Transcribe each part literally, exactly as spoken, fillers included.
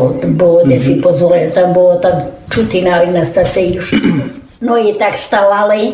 Было де си позволити, там было там чути на, на стації. Но і так ставали,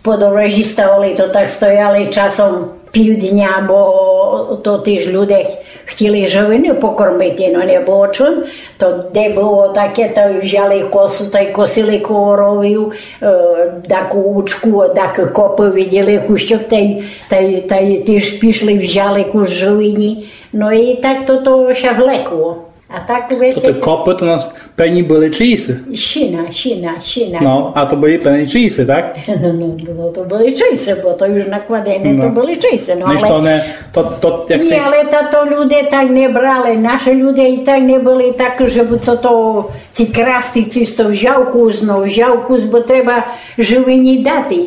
по дорозі ставали, то так стояли часом півдня, бо то тыж люде хотіли живины покормити, но не было чым. То де было таке, то взяли косу, та й косили коровів, е, даку учку, дак копы виділи, кущок, та й, та й, та й тыж пішли, взяли кус живині. Но і так то, то ся влекло. А так... То веце те копы то на певні были чиїсі? Сіна, сіна, сіна. Но, а то были певні чиїсі, так? Но, но, то были чиїсі, бо то уж накладене, то были чиїсі. Но, але не, то, то, як... Ні, але та то люде так не брали. Нашы люде і так не были так, жебы то, то ці красти, ці сто взяв кус, но, взяв кус, бо треба живині дати.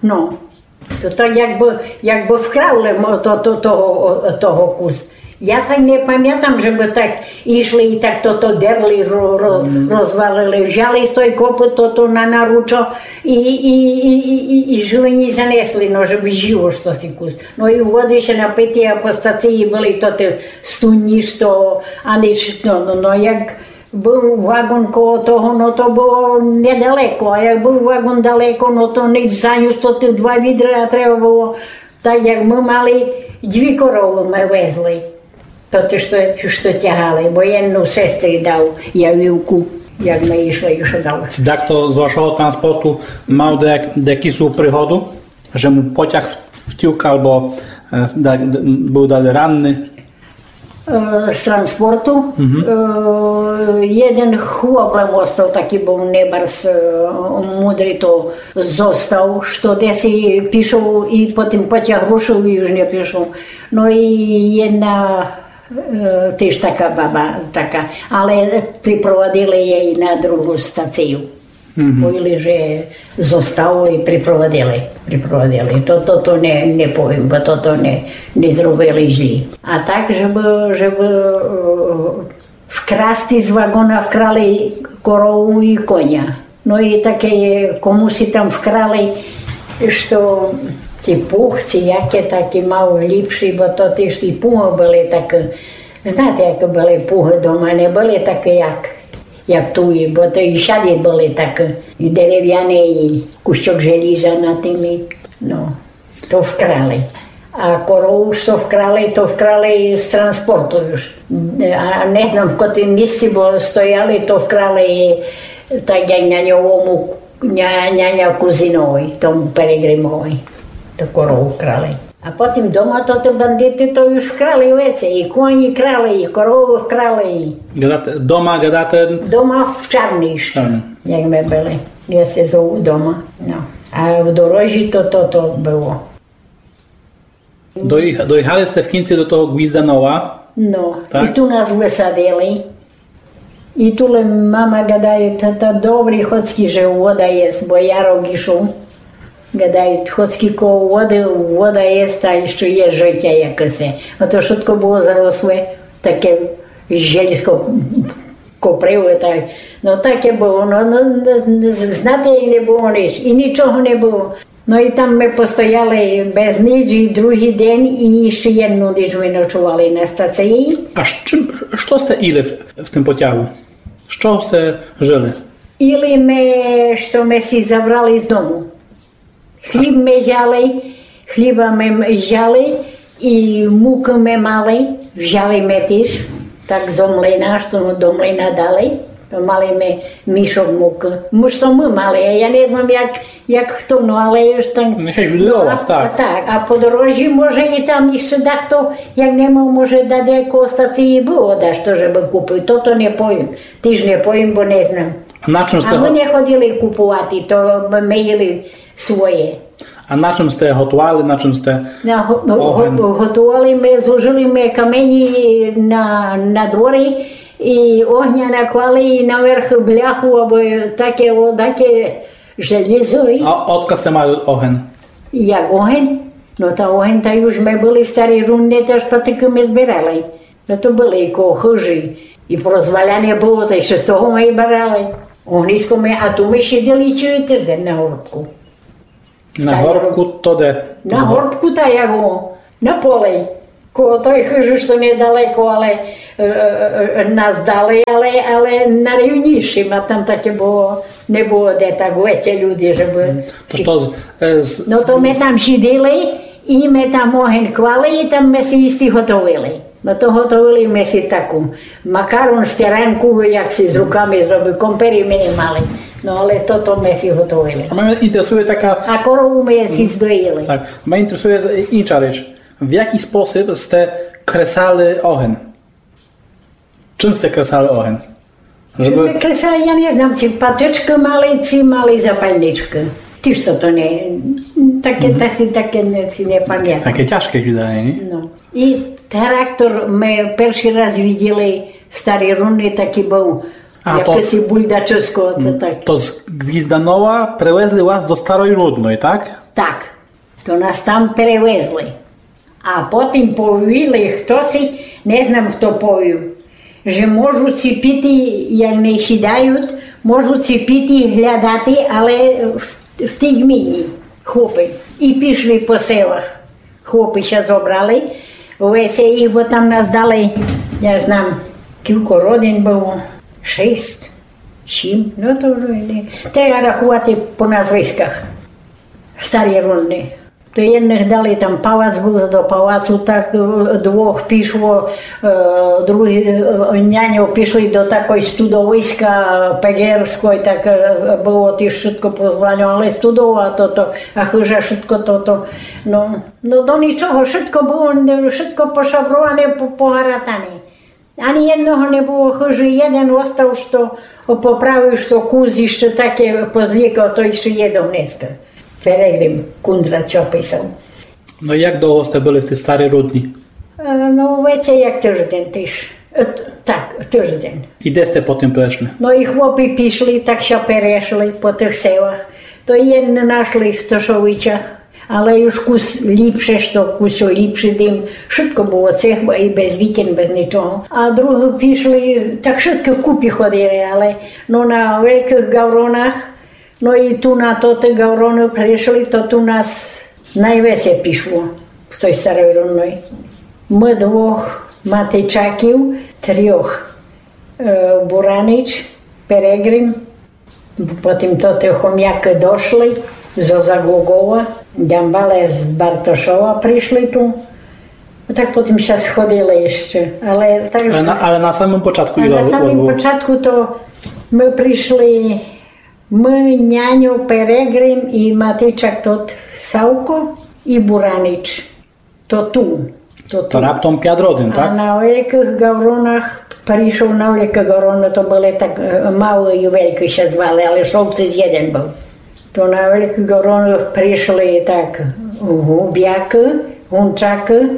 Но. То так якбы, якбы вкрали мо-, то, то, того, о, того кус. Я так не памятам, жебы так ішли і так то, то дерли, ро-, ро-, розвалили. Взяли з той копы то, то на наручо і, і, і, і, і, і живині занесли, но, жебы зїло штоси кус. Но і воды ся напити, а по стації были то тоты студні, што, а ніч, но, но, но, як Быв вагон коло того, но то было недалеко, а як быв вагон далеко, но то ніч занюс, то тоты два відра треба было. Так як мы мали, дві коровы мы везли. То тоты, што, што тягали, бо єдну сестрі дав, я вівку, як мы ішли, што дав. Дахто з вашого транспорту мав даяк-, даяку пригоду, же му потяг в-, втюк, або, е, да-, д-, быв далі ранный? Е, з транспорту. Мгм. Е, єден хлоп лем остав, такій быв небарз, е, мудрий, то зостав, што деси пішов і потім потяг рушив і уж не пішов. Но і єдна, е, тыж така баба, така, але припровадили єй на другу стацію. Мгм. Повіли, же зостало і припровадили, припровадили. То, то, то не, не повім, бо то, то не, не зробили злі. А так, жебы, жебы, е, вкрасти з вагона вкрали корову і коня. Но і таке є, комуси там вкрали, што ці пуг, ці яке такі мав ліпші, бо то тоты ж і пугы были так, знаєте, як были пугы дома, не были такі, як як туй, бо то і сяды были так, і деревяне, і кущок желіза на тым, і, но, то вкрали. А корову, што вкрали, то вкрали з транспорту уж. А не знам, в котрім місці, бо стояли, то вкрали так, як на ньому, ня-, няня Кузиновій, тому Перегримовій, то корову вкрали. А потім дома то тоты бандиты то уж вкрали веце, і коні крали, і коровы вкрали, і... Гадате, дома гадате? Дома в Чарній іщы, як мы были. Я ся зову дома, но. А в дорозі то, то, то было. Доїх-, доїхали сте в кінци до того Гвізданова? Но, так? І ту нас высадили. І ту лем мама гадає, та, та добрі, хоцкі же вода єст, бо ярок ішов. Гадає, хоцкі коло воды, вода єст, та іщы є жытя якысе. А то вшытко было заросле, таке желізко коприве, так. Но, таке было, но, но, но, знати, як не было ніч, і нічого не было. Но і там мы постояли без ніч, і другій день, і іщы єдну ніч мы ночовали на стації. А з чым, што сте їли в, в тым потягу? З чого сте жыли? Їли мы, што мы си забрали з дому. Хліб мы взяли, хліба мы взяли, і мукы мы мали, взяли мы тіж, так зо млина, што до млина дали, то мали мы мішок мукы. Мы, што мы мали, а я не знам, як, як хто, но, але уж там... Нехай буде у вас, так. Так, а по дорозі, може, і там іщы дахто, як не мав, може, десь коло стації было дашто, жебы купив, то, то не повім. Тіж не повім, бо не знам. А на чым сте... А мы не ходили купувати, то мы їли своє. А на чым сте готовали, на чым сте... На го-, го-, огонь? Готовали мы, зложили мы камені на, на дворі, і огня наклали, і наверх бляху, або таке, о, таке желізо, і... А одкаль сте мали огонь? Як огонь? Но та огонь, та уж мы были старі, рунде, та аж патыкы мы збирали. Но то были і коло хыжі, і порозваляне было, та іщы з того мы і брали. Огниско мы, а ту мы сиділи цілий тыждень на горбку. На горбку то де? На горбку та як о, на полі. Коло той хыжы, што недалеко, але е, е, е, нас далей, але, але на рівнішым, а там таке было, не было де так веце люди, жебы... То што, е, з- Но то мы там сиділи, і мы там огень клали, і там мы си їсти готовили. Но то готовили мы си таку макарон, стеранку, як си з руками зробив, компері мы не мали. Но але тото мы си готовили. А мене інтересує така... А корову мы си здоїли. Так, мене інтересує інша річ. В якый спосіб сте кресали огень? Чым сте кресали огень? Жебы... Кресали, я не знам, ци патычкы мали, ци мали запальничкы. Тіж то, то не, таке, та си таке не, си не памятам. Таке тяжке виданя, ні? Но. І трактор мы першый раз виділи в Старій Рунній, такый быв, а, то якысь бульдачысько, то так. То з Гвізданова привезли вас до Старой Рудной, так? Так. То нас там перевезли. А потім повіли, хто си, не знам, хто повів, же можуть си піти, як не хідают, можуть си піти глядати, але в, в тій гміні хлопы. І пішли по селах. Хлопы ся зобрали, веце їх, бо там нас дали, я знам, кілько родин было, шість, сім, но то вже не. Треба раховати по назвисках. Старі Рунны. То єдных дали там палац быв, до палацу так, е, двох пішло, е, другі, е, няньо пішли до такой студовиська, е, Пегерской, так, е, было тіж вшытко прозвані, але студова тото, а хыжа вшытко тото. Но, но до нічого, вшытко было, вшытко пошаброване, по-, погаратане. Ани єдного не было хыжы, єден остав, што поправив, што кус іщы таке позлікав, то іщы є до гнеска. Перегрим Кундрат ся описав. Но як довго сте были в тій Старій Рудній? Е, но, веце як тыждень тіж. Е, т-, так, тыждень. І де сте потім перешли? Но і хлопы пішли, так ся перешли по тых селах. То єдны нашли в Тошовичах, але уж кус ліпше, што кус ліпшый дім. Вшытко было цех, бо і без вікон, без нічого. А другі пішли, так вшытко вкупі ходили, але, но, на Велькых Гавронах, но і ту на тоты Гавроны пришли, то ту нас найвеце пішло з той Старой Рунной. Мы двох Матичаків, трьох, е, Буранич, Перегрим, Потім тоты Хомякы дошли, зо Заглугова, Дямбале з Бартошова пришли ту. Так потім ся сходили іщы, але так... Але на, але на самым початку... А на самым початку то мы пришли, мы, няньо, Перегрим і Матичак тот Савко і Буранич. То ту, то ту. То раптом пять родин, так? А на Велькых Гавронах, пришов на Велькы Гавроны, то были так, е, Малы і Велькы ся звали, але Шовтыс єден быв. То на Велькы Гавроны пришли так Губякы, Гунчакы,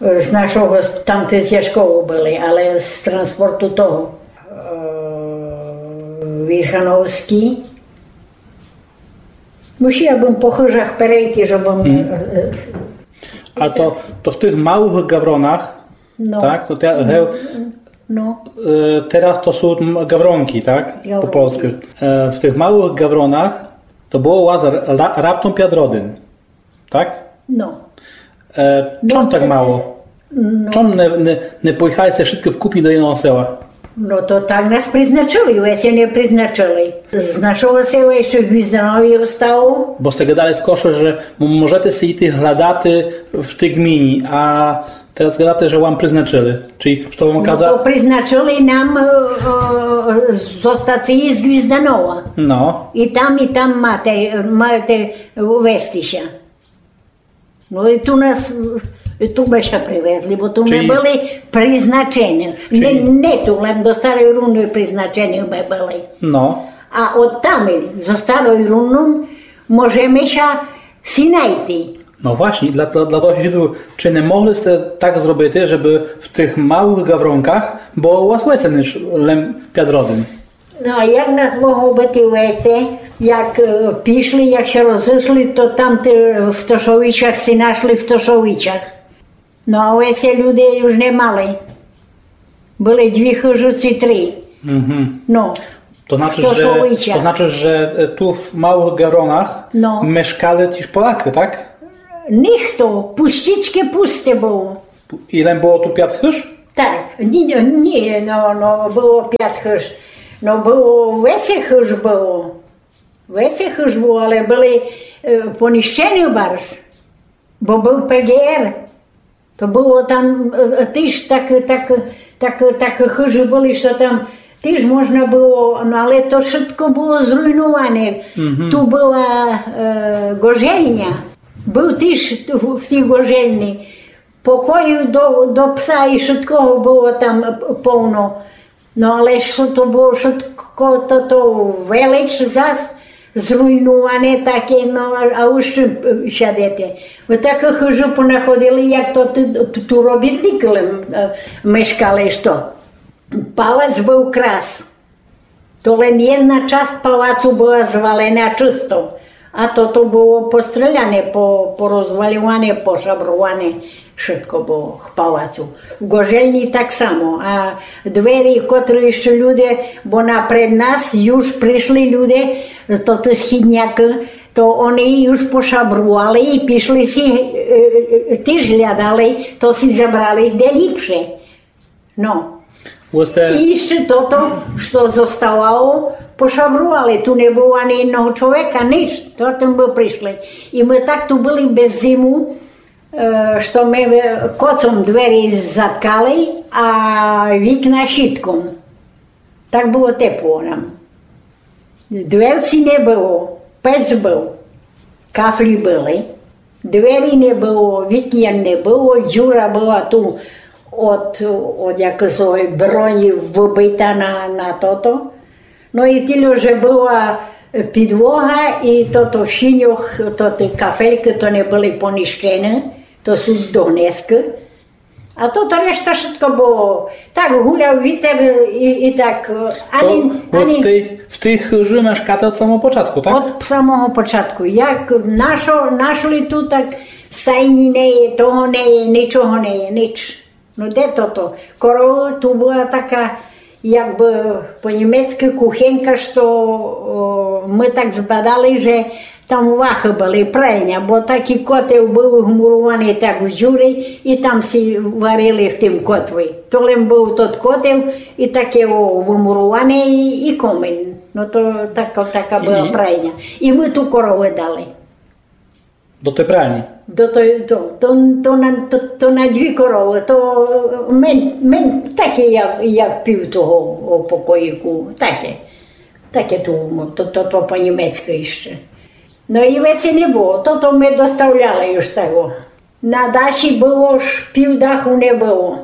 е, з нашого, з, там тіж зі школы были, але з транспорту того, е, Вірхановскі. Мусіла бым по хыжах перейти, жебым... Мгм. Е, е, А то, то в тых Малых Гавронах, но, так? То те, гев-, но, е, тераз то сут м-, Гавронкы, так? По польскы. Е, в тых Малых Гавронах то было у вас ра-, раптом пять родин, так? Но. Е, чом так мало? Но. Чом не, не, не поїхали сте вшыткы вкупі до єдного села? Но то так нас призначыли, веце не призначыли. З нашого села іщы Гвізданові остало. Бо сте гадали скорше, же м-, можете си йти глядати в тій гміні, а тераз гадате, же вам призначыли. Чи што вам каза- Но то призначыли нам, е, е, зостати з Гвізданова. Но. І там, і там мати, маєте вести ся. Но і ту нас, е, ту мы ся привезли, бо ту мы были призначені. Не, не ту, лем до Старой Рунной призначені мы были. Но. А од там, зо Старой Рунной, можеме ся си найти. Но власні, для, для, для того, же ту, чи не могли сте так зробити, жебы в тых Малых Гавронках было у вас веце, неж лем пять родин? Но, а як нас могло быти веце, як, е, пішли, як ся розышли, то там ты, в Тошовичах си нашли в Тошовичах. Но, а веце люди уж не мали. Были дві хыжы ци три. Мгм. Но, в Тошовичах. То значыт, же, то значыт, же, е, ту в Малых Гавронах мешкали тіж Полякы, так? Нихто, пустічкы пусте было. І лем было ту пят хыж? Так, ні, ні, ні, но, но, было пят хыж. Но, было веце хыж было. Веце хыж было, але были, е, понищены барз. Бо был П Г Р. То было там, е, тыж так, так, так, так хыжы были, што там тыж можна было, но, але то вшытко было зруйнуване. Мгм. Ту была, е, ґожельня. Был тыж в, в тій ґожельни. Покоюв до, до пса і вшыткого было там, е, повно. Но, але што то было вшытко, то, то велич зас зруйнуване таке, но, а, а уж, е, сядете. Вы такы хыжы понаходили, як то ту, ту, ту робітникы лем, е, мешкали, што. Палац был крас. То лем єдна часц палацу была звалена чысто. А тото было постреляне, по-, порозвалюване, пошабруване. Вшытко было в палацу. В ґожельни так само. А двері, котры іщы люде, бо напред нас юж пришли люде, то ты східнякы, то они юж пошабрували і пішли си, е, е, е, тыж глядали, то си забрали де ліпше. Но. Власне, і іщы тото, што зоставало, пошабрували. Ту не было ани єдного чоловіка, нич. То тым бы пришли. І мы так ту были без зиму, е, што мы, е, коцом двері заткали, а вікна щітком. Так было тепло нам. Дверци не было, пец был, кафлі были, двері не было, вікон не было, дзюра была ту од, од якоїсь броні выбита на, на тото. Но і тілько, же была підлога, і тото в сіньох, то ті кафелькы, то не были понищены, то суть донеска. А тото решта вшытко было. Так гуляв вітер і, і так, е, ани, то вы ани в тій, в тій хыжы мешкате од самого початку, так? Од самого початку. Як нашо-, нашли ту, так стайні не є, того не є, нічого не є, нич. Но де тото? Корова ту была така, як бы по-німецкы кухенька, што, о, мы так збадали, же там вахы были, прайня, бо такій котел был вмурованый так в дзюрі, і там си варили в тым котлі. То лем был тот котел, і таке, о, вмуроване, і, і комин. Но то така, така была прайня. І мы ту коровы дали. До той прайні? До той, до, то, то на, то, то на дві коровы, то мен, мен таке, як, як пів того, о, покоїку, таке. Таке ту, то, то, то по-німецкы іщы. Но і веце не было, то, то мы доставляли уж того. На дахі было, ож пів даху не было.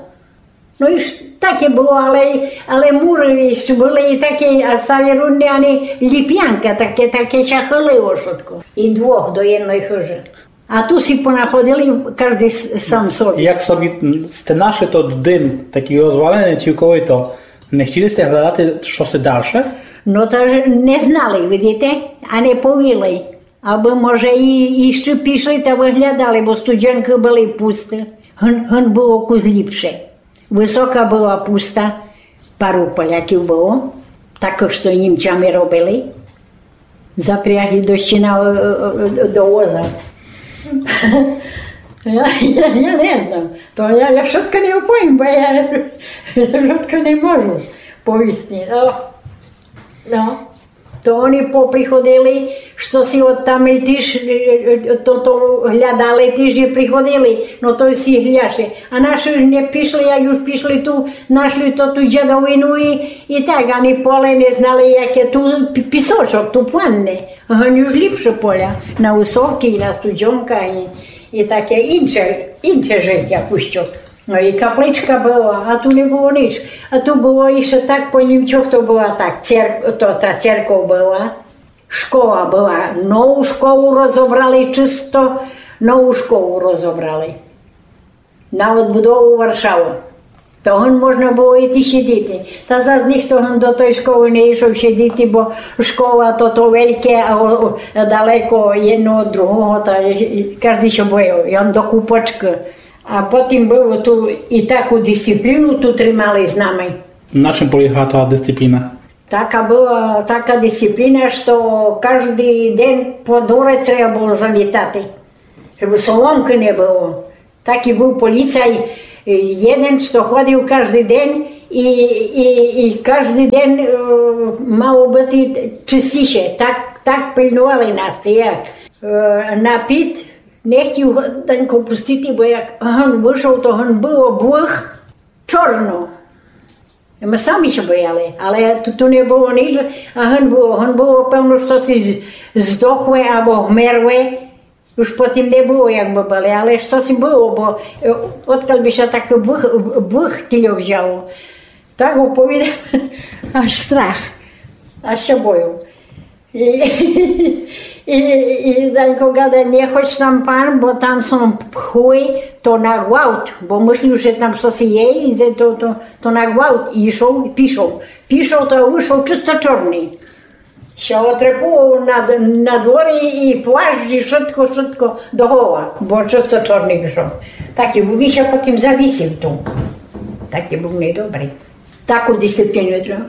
Но і ж таке было, але, але муры іщы были і таке, а ставі рудны, ани ліпянка, таке, таке ся хылило вшытко. І двох до єдной хыжы. А ту си понаходили каждый с-, сам собі. Як собі сте нашли тот дым, такій розваленый цілковито, не хтіли сте глядати, што се дальше? Но та ж не знали, видите, а не повіли. Абы, може, і, іщы пішли та выглядали, бо студзенкы были пусты. Гын, гын было кус ліпше. Высока была пуста, пару поляків было, такых, што німцями робили. Запрягли до щіна, е, е, е, до воза. Я, я, я не знам. То я, я вшытко не оповім, бо я, я вшытко не можу повісти. Но, но. То они поприходили, што си од там і тіж, е, е, то, то глядали, тіж і приходили, но то всі гляше. А наші не пішли, як уж пішли ту, нашли то ту дзядовину і, і так, ани поле не знали, яке ту пі-, пісочок, ту планне. Гын уж ліпше поля, на Высокій, на Студзёнках і, і таке інше, інше житя, пущок. Но і капличка была, а ту не было нич. А ту было іщы так по німцьох, то была так, цер-, то, та церков была, школа была, нову школу розобрали чысто, нову школу розобрали. На одбудову Варшавы. То гын можна было іти сідити. Та зас ніхто гын до той школы не ішов сідити, бо школа то, то вельке, а о-, о-, далеко єдно од другого, та і, і каждый ся бояв. Я до купочкы. А потім было ту і таку дисципліну ту тримали з нами. На чым полягала та дисципліна? Така была, така дисципліна, што каждый день по дворе треба было завітати, жебы соломкы не было. Такій был поліцай, Єден, што ходив каждый ден і, і, і каждый ден е, мало быти чыстіше. Так, так пильнували нас, як. Е, на піт не хтів Данько пустити, бо як гын вышов, то гын было вдвох чорно. Мы самі ся бояли, але ту, ту не было ніч, а гын было, гын было певно, што си з- здохле або вмерле. Уж потім не было, як мы были, але што си было, бо е, одкаль бы ся так вдвох, вдвох тільо взяло. Так оповідав, аж страх, аж ся бою. І, і, і Данько гада, не ходь там, пан, бо там сом пхли, то на гвалт, бо мыслів, же там штоси є, і то, то, то на гвалт. І йшов, і пішов. Пішов, то вышов чысто чорный. Ся отрепував на, на дворі і плащ, і шытко, шытко до гола, бо чысто чорный вышов. Так і быв, і ся потім завісив ту. Так і быв недобрый. Таку дисципліну треба.